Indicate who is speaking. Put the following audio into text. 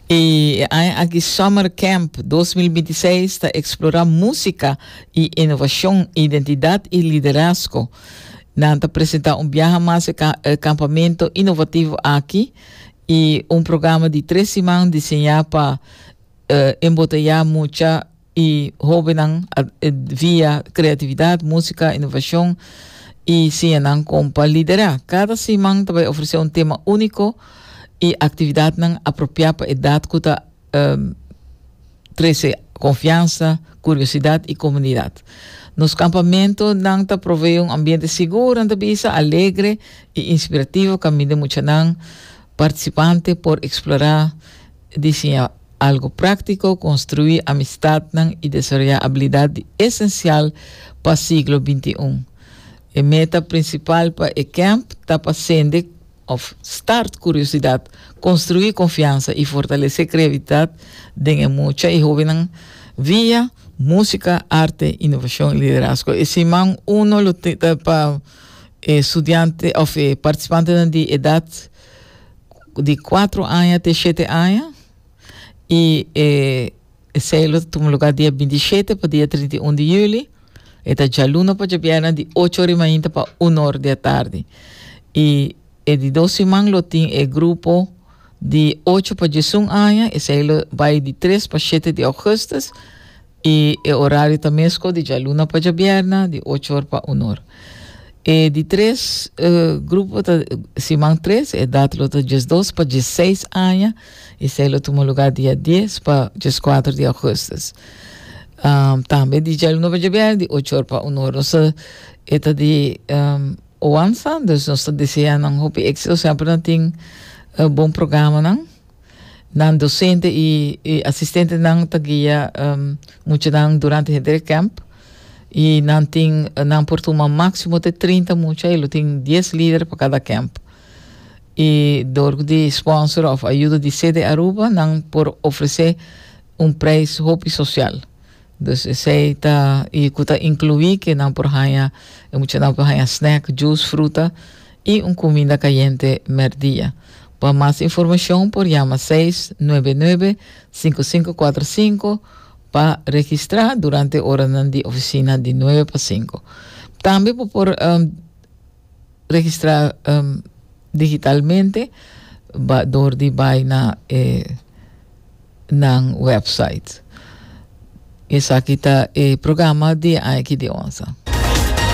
Speaker 1: Y e aña aki Summer Camp 2026 ta explora musica y innovacion, identidad y liderazgo. Nan ta presenta un biaha mas e campamento innovativo aki y un programa di tres siman diseña pa embotella mucha y hobennan via creatividad, musica, innovacion y siña nan con pa lidera. Cada siman ta bay ofrece un tema unico y actividadnan apropia pa edad cu ta trece confiansa, curiosidad y comunidad. Nos campamentonan ta provee un ambiente sigur, nan ta bisa, alegre y inspirativo caminda muchanan participante por explora Diseñá algo práktiko, konstruí amistatnan i desaroyá abilidat di esensial pa siglo 21. E meta prinsipal pa e kèmp ta pa sende òf start kuriosidat, konstruí konfiansa i fortalesé kreatividat den e mucha i hóbennan via músika, arte, inovashon i liderazgo. E siman uno lo ta pa e studiante òf e partisipantenan di edat di cuatro aña te shete aña y e esey lo tuma lugar dia 27 pa dia 31 di juli. E ta djaluna pa djabièrnè di ocho ora di mainta pa un or di atardi. Y e di dos siman lo tin e grupo di ocho pa diesun aña, esey lo bay di tres pa shete di augustus. I e orario ta mesco di djaluna pa djabierna di ocho or pa un or. E di tres grupo ta siman tres, e edat lo ta diesdos pa diesseis aña i esei lo tuma lugar dia dies pa dieskuater di augustus. Tambe di djaluna pa djabierna di ocho or pa un or. Nos ta e ta di Oansa, dus nos ta desea nan hopi éxito, semper nan tin bon programanan. Nan docente y asistentenan ta guia muchanan durante henter e camp y nan tin nan por tuma maximo te 30 mucha y lo tin 10 lider pa cada camp. Y door di sponsor of ayudo di CD Aruba nan por ofrece un prijs hopi social. Dus esey ta y cu ta inclui que nan por haya e muchanan por haya snack, juice, fruta y un cuminda cayente merdia. Pa mas informacion por yama seis nuebe nuebe cinco cinco cuatro cinco pa registra durante oranan di oficina di nuebe pa cinco. Tambe bo por registra digitalmente ba door di bai na e nan website. Esaki ta e programa di aña aki di onsa.